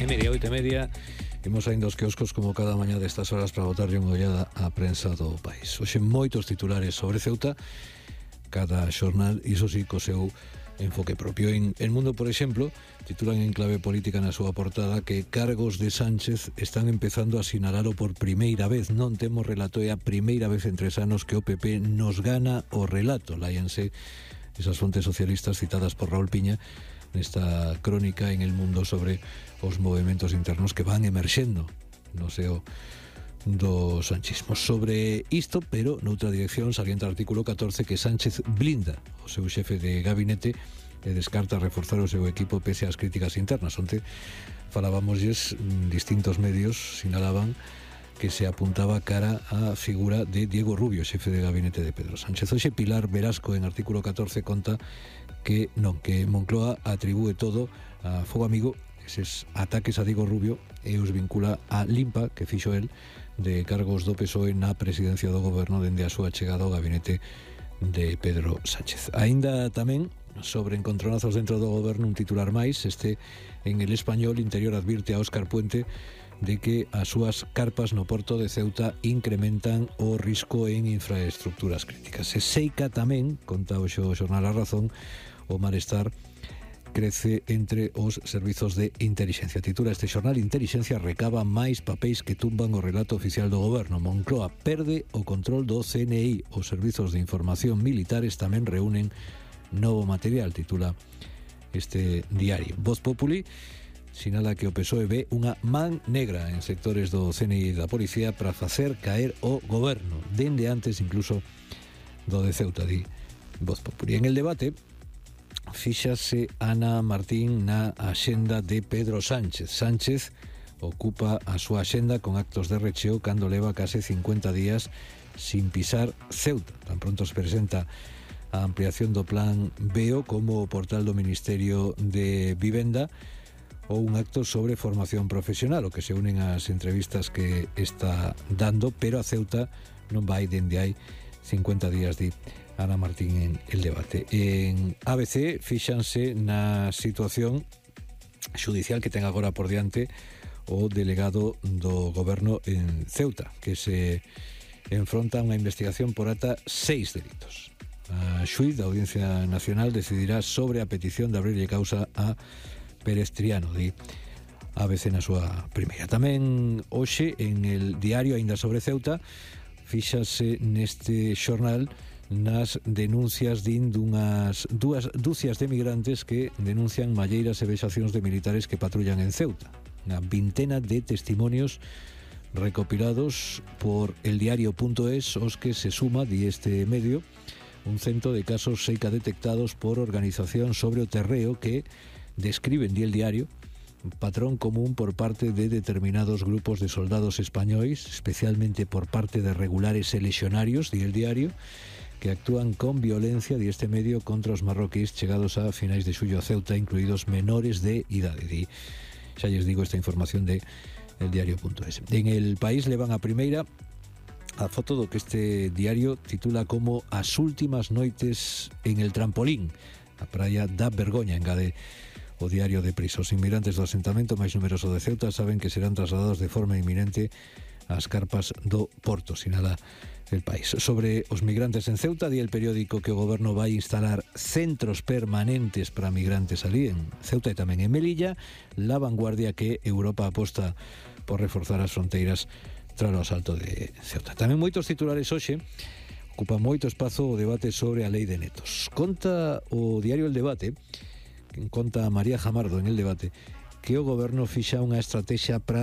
media, 8:30, imos saindo aos quioscos como cada mañá destas horas para botarlle unha ollada á prensa do país. Hoxe moitos titulares sobre Ceuta, cada xornal, iso sí, co seu enfoque propio. En El Mundo, por exemplo, titulan en clave política na súa portada que cargos de Sánchez están empezando a sinalalo por primeira vez. Non temos relato, é a primeira vez en 3 anos que o PP nos gana o relato. Láianse esas fontes socialistas citadas por Raúl Piña nesta crónica en El Mundo sobre os movementos internos que van emerxendo no seo do sanchismo. Sobre isto, pero noutra dirección, salienta o artículo 14 que Sánchez blinda o seu xefe de gabinete e descarta reforzar o seu equipo pese ás críticas internas. Onte falábamosles, distintos medios sinalaban que se apuntaba cara á figura de Diego Rubio, xefe de gabinete de Pedro Sánchez. Hoxe Pilar Verasco en artículo 14 conta que Moncloa atribúe todo a Fogo Amigo, eses ataques a Diego Rubio, e os vincula a limpa que fixo el de cargos do PSOE na presidencia do goberno dende a súa chegada ao gabinete de Pedro Sánchez. Aínda tamén sobre encontronazos dentro do goberno, un titular máis, en El Español. Interior advirte a Óscar Puente de que as súas carpas no porto de Ceuta incrementan o risco en infraestructuras críticas. E Seica tamén, conta o xornal A Razón, o malestar crece entre os servizos de intelixencia. Titula este xornal: Intelixencia recaba máis papéis que tumban o relato oficial do goberno. Moncloa perde o control do CNI. Os servizos de información militares tamén reúnen novo material, titula este diario. Voz Populi sinala que o PSOE ve unha man negra en sectores do CNI e da policía para facer caer o goberno, dende antes incluso do de Ceuta, di Voz Populi. En El Debate fíxase Ana Martín na axenda de Pedro Sánchez. Sánchez ocupa a súa axenda con actos de recheo cando leva case 50 días sin pisar Ceuta. Tan pronto se presenta a ampliación do plan BEO como o portal do Ministerio de Vivenda ou un acto sobre formación profesional, o que se unen ás entrevistas que está dando, pero a Ceuta non vai dende hai 50 días, di Ana Martín en El Debate. En ABC fíxanse na situación xudicial que ten agora por diante o delegado do goberno en Ceuta, que se enfronta a unha investigación por ata 6 delitos. A xuíz da Audiencia Nacional decidirá sobre a petición de abrirlle causa a Pérez Triano, di ABC na súa primeira. Tamén hoxe en El Diario, aínda sobre Ceuta, fíxase neste xornal nas denuncias dunhas dúcias de migrantes que denuncian malleiras e vexacións de militares que patrullan en Ceuta. Unha vintena de testimonios recopilados por eldiario.es, os que se suma, di este medio, un cento de casos Seica detectados por organización sobre o terreo que describen, di El Diario, un patrón común por parte de determinados grupos de soldados españois, especialmente por parte de regulares e lexionarios, di El Diario, que actúan con violencia, di este medio, contra os marroquíes chegados a finais de xullo a Ceuta, incluídos menores de idade. Xa lles digo esta información de eldiario.es. En El País levan a primeira a foto do que este diario titula como As últimas noites en el trampolín. A praia da vergoña, engade o diario de Prisa. Os inmigrantes do asentamento máis numeroso de Ceuta saben que serán trasladados de forma inminente ás carpas do porto, sinala El País. Sobre os migrantes en Ceuta, di el periódico que o goberno vai instalar centros permanentes para migrantes ali en Ceuta e tamén en Melilla. La Vanguardia que Europa aposta por reforzar as fronteiras tras o asalto de Ceuta. Tamén moitos titulares hoxe, ocupa moito espazo o debate sobre a lei de netos. Conta o diario El Debate, conta María Jamardo en El Debate, que o goberno fixa unha estrategia para